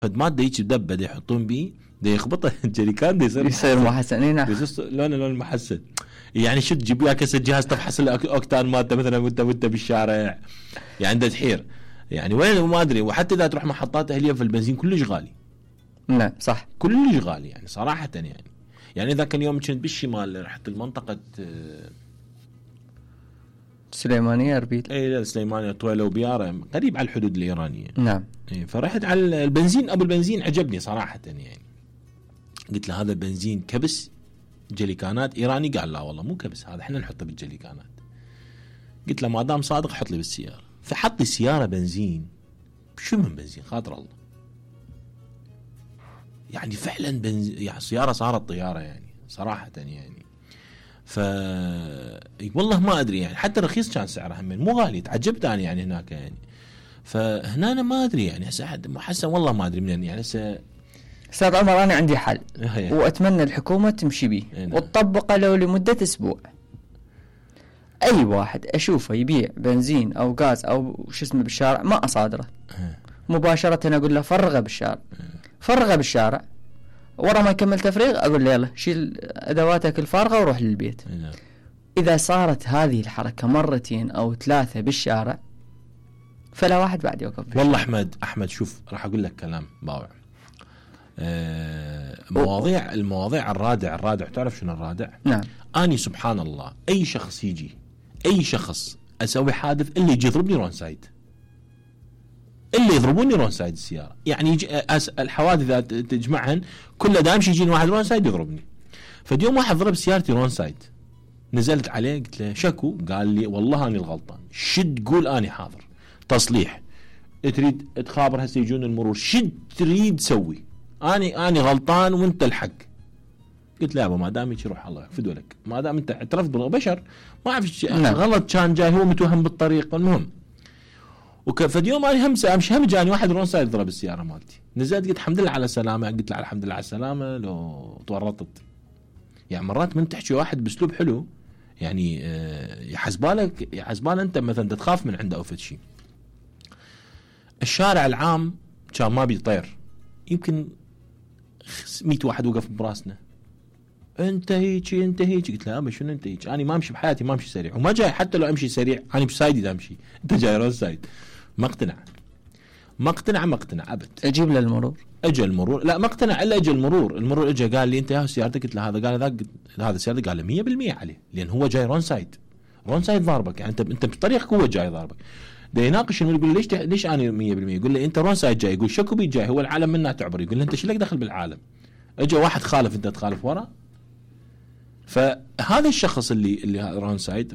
فد ماده هيك دبه دا يحطون بيه دا يخبطه الجريكان دا يصير محسن. اي نعم. لون محسن. يعني شو تجيب وياه كاسه جهاز تفحص الاوكتان مالته مثلا وانت بالشارع يعني دا تحير يعني وين ما ادري. وحتى اذا تروح محطات اهليه في البنزين كلش غالي. نعم صح كلش غالي يعني صراحه. يعني اذا كان يوم كنت بالشمال رحت المنطقه سليمانيه اربيل. اي سليمانيه طويله وبياره قريب على الحدود الايرانيه. نعم. فرحت على البنزين. ابو البنزين عجبني صراحه يعني. قلت له هذا البنزين كبس جليكانات ايراني؟ قال لا والله مو كبس، هذا احنا نحطه بالجليكانات. قلت له ما دام صادق حط لي بالسياره. فحط لي سياره بنزين. شو من بنزين خاطر الله يعني فعلا بنزين يعني سياره صارت طياره يعني صراحه يعني. والله ما ادري يعني حتى رخيص كان سعره هم مو غالي. تعجبت انا يعني هناك يعني. فهنا أنا ما ادري يعني هسه حسن والله ما ادري منين يعني هسه. استاذ عمر انا عندي حل واتمنى الحكومه تمشي به وتطبقه لو لمده اسبوع. اي واحد اشوفه يبيع بنزين او غاز او شو اسمه بالشارع ما اصادره مباشره اقول له فرغه بالشارع ورا ما يكمل تفريغ اقول له يلا شيل ادواتك الفارغه وروح للبيت. اذا صارت هذه الحركه مرتين او ثلاثه بالشارع فلا واحد بعد يوقف بالشارع. والله احمد شوف راح اقول لك كلام باوع. المواضيع الرادع تعرف شنو الرادع؟ نعم. اني سبحان الله اي شخص اسوي حادث اللي يجي يضربني رون سايد. اللي يضربوني رون سايد السياره يعني الحوادث اذا تجمعهن كله دائما يجيني واحد رون سايد يضربني. فاليوم واحد ضرب سيارتي رون سايد نزلت عليه قلت له شكو؟ قال لي والله اني الغلطان. شد تقول اني حاضر تصليح تريد تخابر هسه يجون المرور شد تريد تسوي اني غلطان وانت الحق. قلت لا ما دام هيك روح الله يحفظ لك ما دام انت اعترفت بالبشر ما اعرف غلط كان جاي هو متوهم بالطريق. المهم فاليوم انا هم جاني واحد رون سايد ضرب السياره مالتي. نزلت قلت الحمد لله على السلامه. قلت له الحمد لله على السلامه لو تورطت. يعني مرات من تحكي واحد باسلوب حلو يعني يحسبالك انت مثلا تخاف من عنده او فد شيء. الشارع العام كان ما بيطير يمكن 100 واحد وقف براسنا انت هيك قلت له ابا شنو انت هيك؟ انا ما امشي بحياتي ما امشي سريع وما جاي حتى لو امشي سريع انا بسايدي دا امشي. انت جاي رون سايد. ما اقتنع ابد. اجيب له المرور. اجى المرور لا ما اقتنع الا اجى المرور اجى قال لي انت يا سيارتك. قلت له هذا قال ذاك هذا سيارتك. قال له 100% عليه لان هو جاي رون سايد ضاربك يعني انت بطريقك هو جاي ضاربك. ده يناقش يقول ليش انا 100%؟ يقول لي انت رون سايد جاي. يقول شكو بي جاي هو العالم منا تعبر. يقول له انت شو لك دخل بالعالم؟ اجى واحد خالف انت تخالف ورا. فهذا الشخص اللي رون سايد